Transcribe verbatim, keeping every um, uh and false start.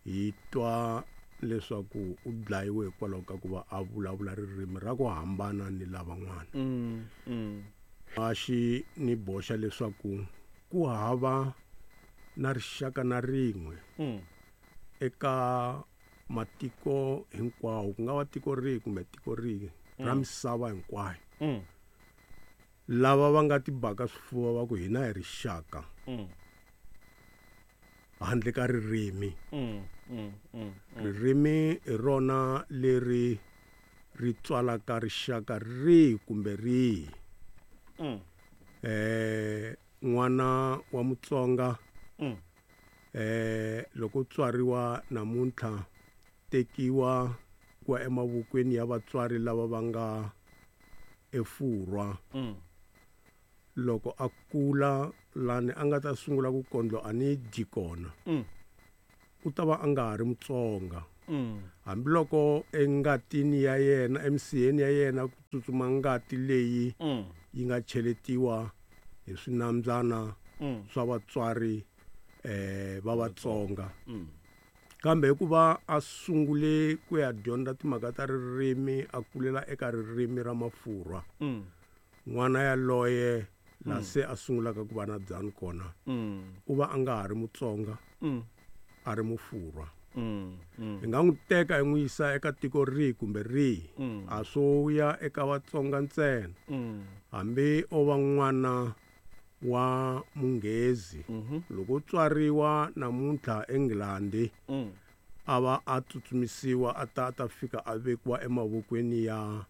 Hi twa leswaku u dlayiwe hikwalaho ka ku va a vulavula ririmi ra ku hambana ni lavan'wana. Mm. Mm. A xi ni boxa leswaku ku hava na rixaka na rin'we Mm. eka matiko hinkwawo, ku nga va tiko rihi kumbe tiko rihi ra misava hinkwayo, Mm. lava va nga tibaka swifuva va ku hina hi rixaka Mm. handle ka ririmi. Mm. Mm. Mm. Ririmi hi rona leri ri tswalaka rixaka rihi kumbe rihi. Mm. Eh n'wana wa Mutsonga Mm. eh loko tswariwa namuntlha, tekiwa kwa emavokweni ya vatswari lava va nga eFurwa. Mm. Loko a kula lani a nga ta sungula ku kondlo a ni dyi kona, Mm. u ta va a nga ha ri Mutsonga. Mm. Hambiloko engatini ya yena, emisiheni ya yena, ku tsutsuma ngati leyi Mm. yi nga cheletiwa hi swinambyana Mm. swa vatswari eh va Vatsonga. Mm. Kambe hikuva a sungule ku ya dyondza timhaka ta ririmi, a kulela eka ririmi ra Mafurwa, Mm. n'wana yaloye la se a sungulaka ku va na dzani kona, Mm. u va a nga ha ri Mutsonga, Mm. a ri Mufurwa. Mm. Mm. Hi nga n'wi teka hi n'wi yisa eka tiko rihi kumbe rihi, Mm. a swo ya eka Vatsonga ntsena. Mm. Hambi o va n'wana wa Munghezi, Mhm. loko u tswariwa namuntlha eNgilandi, Mm. a va a tsutsumisiwa a ta a ta fika a vekiwa emavokweni ya